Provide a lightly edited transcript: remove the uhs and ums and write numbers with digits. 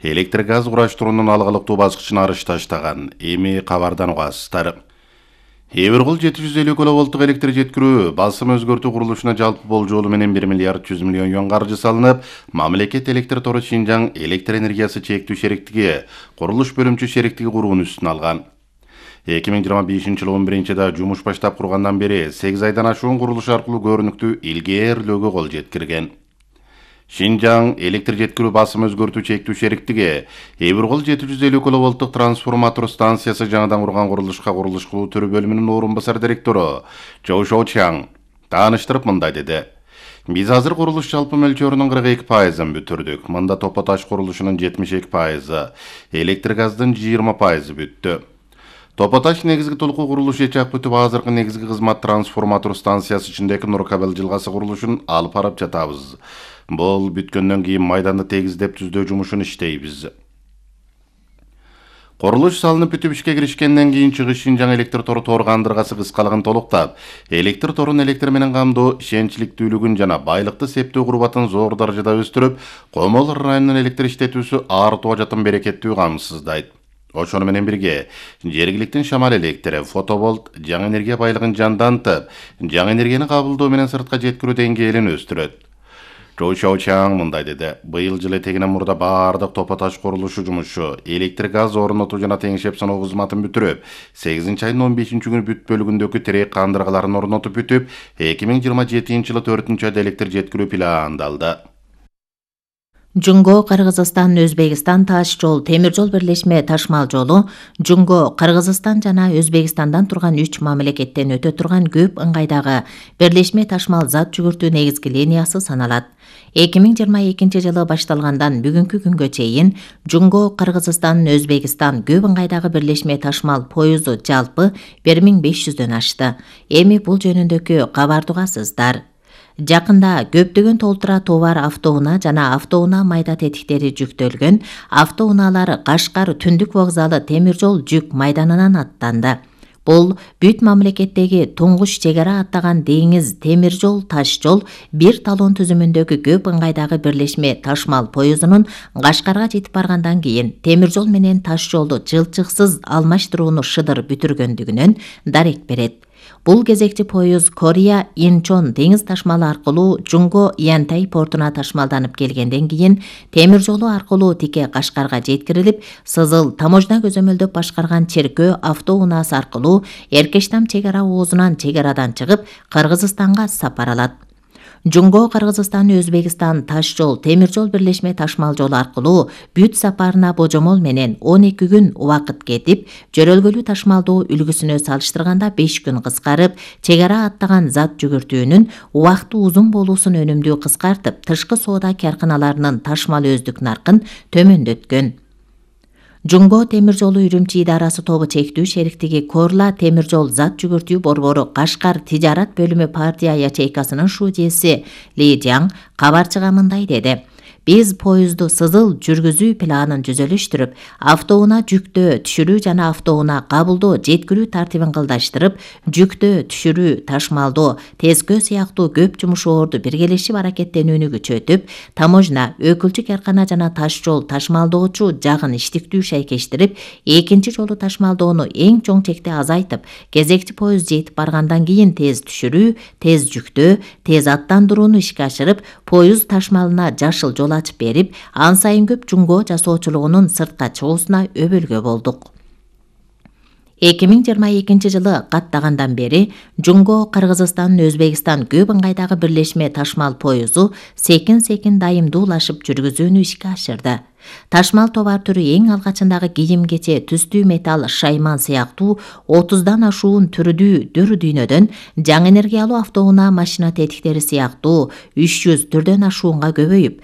электр газ кураштыруунун алгылыктуу баскычына арыш таштаган. Эми кабардан угасыздар. Эбиргул 750 киловолттук электр жеткирүү басым өзгөртүү курулушуна жалпы болжолу менен 1 миллиард 100 миллион юан каржы салынып, мамлекет электр тору Шинжаң электр энергиясы чектүү шериктиги курулуш бөлүмчү шериктиги курууну үстүнө алган. 2025-жылы 11-да жумуш баштап кургандан бери 8 айдан ашуун курулуш аркылуу көрүнүктүү илгээрлөөгө кол жеткирген. Шинжаң электр жеткирүү басым өзгөртүү чектүү шериктиги Эбиргул 750 киловолттук трансформатор станциясы жаңыдан курган курулушка курулуш кылуу түрү бөлүмүнүн орун басар директору Чоу Шоучаң тааныштырып мындай деди. Биз азыр курулуш жалпы мөлчөрүнүн 42%ын бүтүрдүк. Мында топо таш курулушунун 72%, электр газдын 20% бүттү. Топо таш негизги толку курулуш ичак бүтүп, азыркы негизги кызмат трансформатор станциясы ичиндеги Нуркабел жылгасы курулушун алып барып жатабыз. Бул бүткөндөн кийин майданды тегиздеп түздөө жумушун иштейбиз. Курулуш салынып бүтүп ишке киришкенден кийин чыгыш Шинжаң электр тору кандыргасы кыскалыгын толуктап, электр торун электр менен камдоо ишенчликтүүлүгүн жана байлыкты септөө курбатын зор даражада өстүрүп, Комол районунун электр иштетүүсү артуу жатын берекеттүү камсыздайт. Ошону менен бирге жергиликтин шамал электри, фоtovолт, жаңы энергия байлыгын жандантып, жаңы энергияны кабылдоо менен сыртка жеткирүү деңгээлин өстүрөт. Чоу Шоучаң мындай деди. Быйыл жылы этегинен мурда баардык топо таш курулушу жумушу, электр газ орнотуу жана теңшеп саноо кызматын бүтүрүп, 8-айдын 15-күнү бүт бөлүгүндөгү тирек кандыргаларын орнотуп бүтүп, 2027-жылы 4-айда электр жеткирүү пландалды. Жунго Кыргызстан Өзбекстан таш жол темир жол бирлешме ташмал жолу Жунго Кыргызстан жана Өзбекстандан турган 3 мамлекеттен өтө турган көп ыңгайдагы бирлешме ташмал зат жүгүртүү негизги линиясы саналат. 2022 жылы башталгандан бүгүнкү күнгө чейин Жунго Кыргызстан Өзбекстан көп ыңгайдагы бирлешме ташмал поюзу жалпы 1500дөн ашты. Эми бул жөнүндөгү кабарды угасыздар. Жакында көптөгөн толтура товар автоунаа жана автоунаа майда тетиктери жүктөлгөн автоунаалар Кашкар түндүк вокзалы темир жол жүк майданынан аттанды. Бул бүт мамлекеттеги туңгуч чек ара аттаган деңиз темир жол таш жол бир талон түзүмүндөгү көп ыңгайдагы бирлешме ташмал поюзунун Кашкарга жетип баргандан кийин темир жол менен таш жолду жылчыксыз алмаштырууну шыдыр бүтүргөндүгүнөн дарек берет. Бул кезекчи поюз Корея Инчон деңиз ташмалы аркылуу Жунго Янтай портуна ташмалданып келгенден кийин темир жолу аркылуу тике Кашкарга жеткирилип, Сызыл таможня көзөмөлдөп башкарган Черкөө автоунаасы аркылуу Эркештам чек ара оозунан чек арадан чыгып Кыргызстанга сапар алат. Жунго Кыргызстан Өзбекстан таш жол темир жол бирлешме ташмал жолу аркылуу бүт сапарына божомол менен 12 күн убакыт кетип, жөрөлгөлүү ташмалдоо үлгүсүнө салыштырганда 5 күн кыскарып, чек ара аттаган зат жүгүртүүнүн убакыты узун болуусун өнүмдүү кыскартып, тышкы соода карканаларынын ташмал өздүк наркын төмөндөткөн. Жунго темир жолу Үрүмчи идарасы тобу чектүү шериктиги Корла темир жол зат жүгүртүү борбору Кашкар тижарат бөлүмү партия ячейкасынын шуудеси Ли Жаң кабарчыга мындай деди. Биз поюзду Сызыл жүргүзүү планын жүзөлүштүрүп, автоунаа жүктөө түшүрүү жана автоунаа кабылдоо жеткирүү тартибин кылдаштырып, жүктөө түшүрүү ташмалдоо тескөө сыяктуу көп жумушоорду биргелешип аракеттенүүнү күчөтүп, таможня, өкүлчү каркана жана таш жол ташмалдоочу жагын иштиктүү шайкештирип, экинчи жолу ташмалдоону эң чоң чекте азайтып, кезекчи поюз жетип баргандан кийин тез түшүрүү, тез жүктөө, тез аттандырууну ишке ашырып, поюз ташмалына жашыл жол ачып берип, ан сайын көп жунго жасоочулугунун сыртка чыгуусуна өбөлгө болдук. 2022 жылы каттагандан бери Жунго Кыргызстан Өзбекстан көп ыңгайдагы бирлешме ташмал поюзу секин дайымдуулашып жүргүзүүнү ишке ашырды. Ташмал товар түрү эң алгачындагы кийим-кече, түстүү металл, шайман сыяктуу 30дан ашуун түрдүү дүйнөдөн, жаңы энергиялуу автоунаа машина тетиктери сыяктуу 300 түрдөн ашуунга көбөйүп,